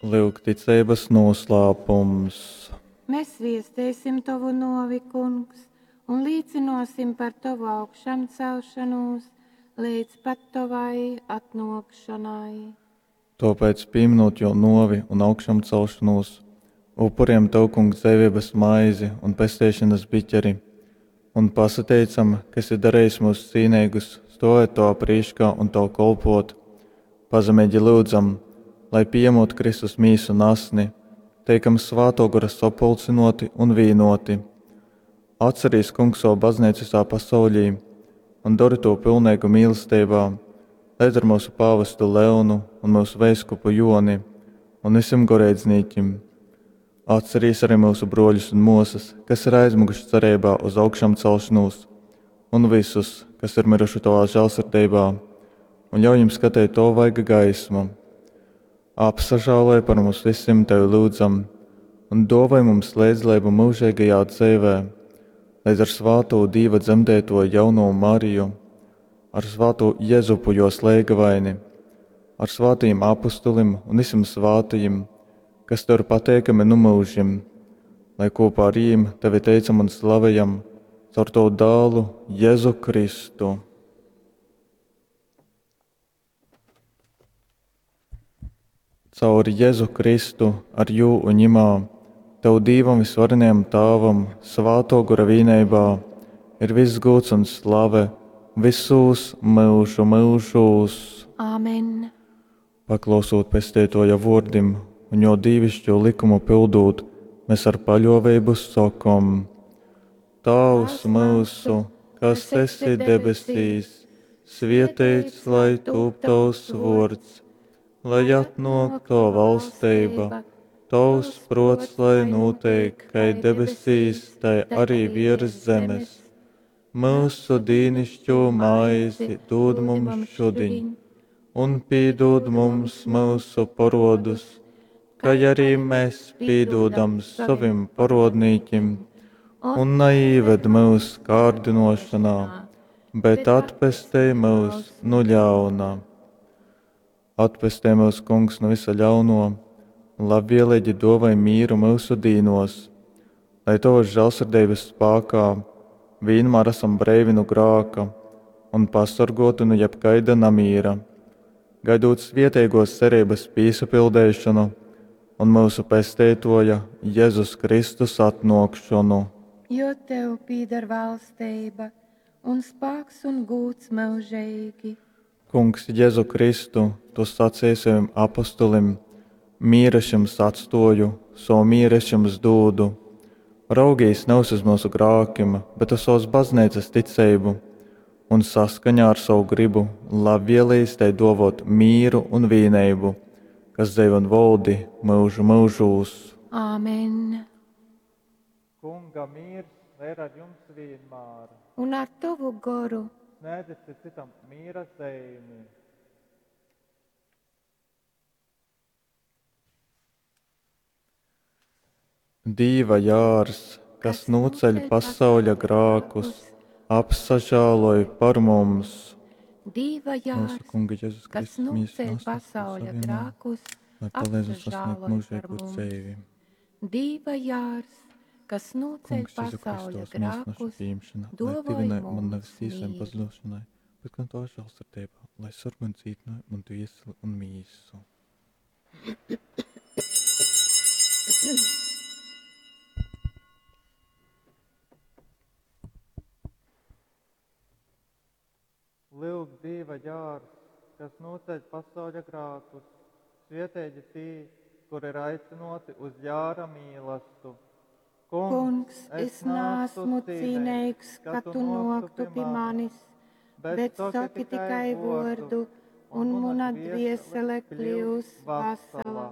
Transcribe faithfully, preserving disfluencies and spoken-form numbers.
Lyuk ticeibas noslēpums. Mēs viestēsim tovu novi, Kungs, un līcinosim par tovu augšamcelšanos līdz pat tovai atnokšanai. Tāpēc, pieminot jo novi un augšamcelšanos, upuriem tev, Kungs, dzīvības maizi un pestīšanas biķeri, un pasateicam, ka esi darījis mūs cīnīgus, stovēt tavā prīškā un tev kolpot. Pazemīgi lūdzam, lai pieņemot Kristus mīsu un asni, teikam Svāto Gora sapulcinoti un vīnoti. Atcerīs, Kungs, savu baznīcu visā pasaulī un dari to pilnīgu mīlestībā, līdz ar mūsu pāvestu Leonu un mūsu veiskupu Joni un visiem goreidznīkim. Atcerīs arī mūsu broļus un mūsas, kas ir aizmuguši cerībā uz augšām celšanos, un visus, kas ir miruši tavā žēlsirdībā, un ļauj viņiem skatīt to vaiga gaismu. Apsažāloj par mums visiem tevi lūdzam, un dāvāj mums līdzdalību mūžīgajā dzīvē, līdz ar svāto Dīva dzemdēto jauno Mariju, ar svāto Jezupu jo slēgavaini, ar svātajiem apustulim un visiem svātajiem, kas tev ir pateikami nu mūžim, lai kopā ar viņiem tevi teicam un slavējam caur tavu dēlu Jēzu Kristu. Caur Jēzu Kristu, ar jū un ņimā, tev Dīvam visvarenajam Tāvam, svāto gora vīneibā, ir viss gūts un slave visos mūžu mūžos. Āmen. Paklausot pestētoja vordim un jo dīvišķo likumu pildūt, mēs ar paļovību sakom: Tēvs mūsu, kas esi debesīs, svietēts lai tūp tavs vords, lai atnok tava valstība, tavs prots lai notiek, kai debesīs, tai arī virs zemes. Mūsu dīnišķo maizi dod mums šodien, un pīdod mums mūsu parodus, kā arī mēs pīdodam savim parodnīkim, un neīved mūs kārdinošanā, bet atpestej mūs no ļauna. Atpestē mūs, Kungs, no visa ļauno, un labvēlīgi dovai mīru mūsu dīnos, lai tavas žēlsirdības spēkā vienmēr esam breivi no grāka un pasargoti no jebkaida namīra, gaidot svietēgos cerības pīsapildēšanu un mūsu pestētoja Jēzus Kristus atnokšanu. Jo tev pīdar valstība un spāks un gūts mūžīgi. Kungs, Jēzu Kristu, tu sacīji saviem apustulim: mīru es jums atstoju, savu mīru es jums dūdu. Raugīs nevis uz mūsu grākim, bet uz savas baznīcas ticību, un saskaņā ar savu gribu labvēlīs tai dovot mīru un vīneibu, kas dzīvo un valdi mūžu mūžūs. Āmen. Kunga mīrs lai ir ar jums vienmēr. Un ar tavu goru. Sniedziet citam mīra zīmi. Dīva jārs, kas noceļ pasauļa grākus, apsažāloj par mums. Dīva jārs, Mūsu Kunga Jēzus kas Kristus mīsu noceļ un asins pasauļa savieno, grākus, lai palīdz mums sasniegt apsažāloj par mūžīgo mums. dzīvi. Dīva jārs, kas noceļ Kungs, Jēzu pasauļa Kristus, mīsu naša grākus, pieņemšana, lai dovoj tivinai man mums nevis tīsai un mīru. pazudošanai, bet gan tavā žēlsirdībā, lai sargu un cītināju man dvieseli un mīsu. Lūk, Dieva jārs, kas noceļ pasauļa grākus, svietēģi tī, kur ir aicinoti uz jāra mīlastu. Kungs, es neesmu cīnīgs, ka tu noktu pie manis, bet saki tikai vordu, un mana dviesele kļūs vesela.